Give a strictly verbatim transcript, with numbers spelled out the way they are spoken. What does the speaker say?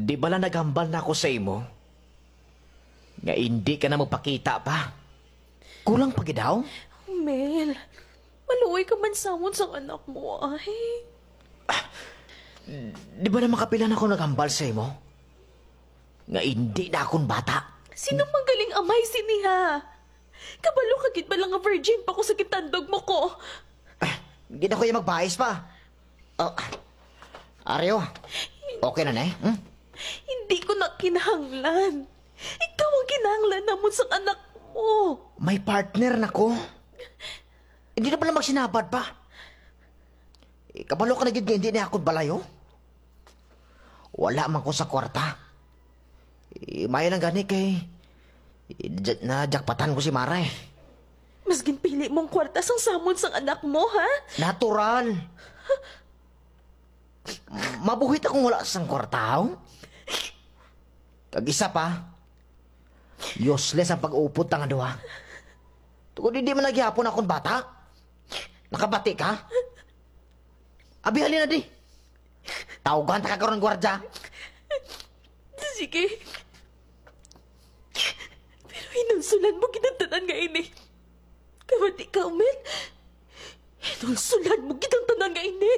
Di bala naghambal na ako sa imo nga indi ka na magpakita pa? Kulang pa gid daw? Mel, maluoy ka man samon sang anak mo, ay. Di ba na makapila na ako naghambal sa imo nga indi na akon bata? Sino man galing amay sini, ha? Kabalo ka gid bala nga virgin pa ko sa gintandog mo ko? Di na ko iya magbais pa. Oh, Ario, okay na na eh? Hmm? Hindi ko na kinahanglan. Ikaw ang kinahanglan namon sang anak mo. May partner na ko. Hindi na pala magsinabad pa. Eh, kabalo ka na gid nga hindi na akong balayo. Wala man ko sa kwarta. Eh, maayo lang gani kay, eh, ja-, najakpatan ko si Mara eh. Mas ginpili mong kwarta sang samon sang anak mo, ha? Natural. Mabuhi ta kung wala sang kwarta, haw? Kag isa pa, useless ang pag-upod ta nga duha. Tungod hindi man na gihapon akon bata. Nakabati ka? Abi, halina di. Tawgan ta ka karon, gwardya. Sige. Pero hinulsulan mo gid ang tanan nga ini. Kabati ka, Mel. Hinulsulan mo gid ang tanan nga ini.